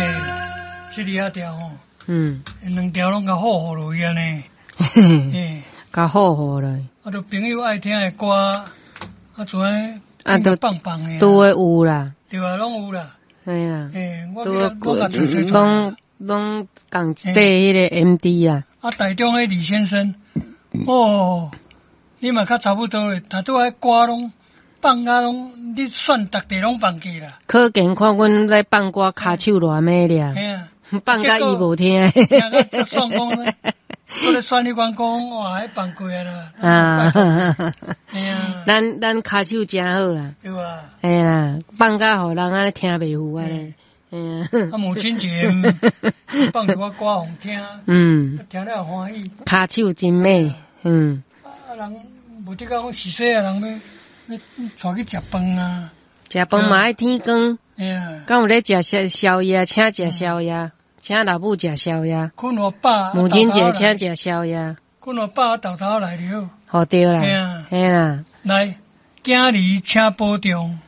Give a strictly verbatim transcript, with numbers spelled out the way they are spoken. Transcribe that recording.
嘿，這裡仔條吼，嗯，兩條攏共好好落去按呢，嘿，較好好落。啊，著朋友愛聽的歌，啊，就按呢啊，都放放的，都會有啦。對啊，攏有啦。嘿啊，嘿，我都我共揣揣攏攏仝一塊彼个 M D 啊。啊，台中彼李先生，哦，你嘛較差不多咧，他拄仔歌攏放甲攏，你選逐地攏放去啦。可見看阮咧放歌，跤手偌美爾，嘿啊，放甲伊無聽。聽甲才算講咧，我咧選彼款講，哇，彼放過啊啦。啊，嘿啊，咱咱跤手誠好啊。對啊。嘿啦，放甲予人按呢聽袂赴按呢。嘿啊。啊，母親節放一寡歌予聽，嗯，聽了歡喜。跤手真美，嗯。啊，人無得講是細個人欲欲帶去食飯啊。食飯嘛愛天光。嘿啊。敢有咧食宵宵夜，請食宵夜，請老母食宵夜。睏予飽。母親節請食宵夜。睏予飽，沓沓來著好。好對啦。嘿啊。嘿啦。來，囝兒請保重。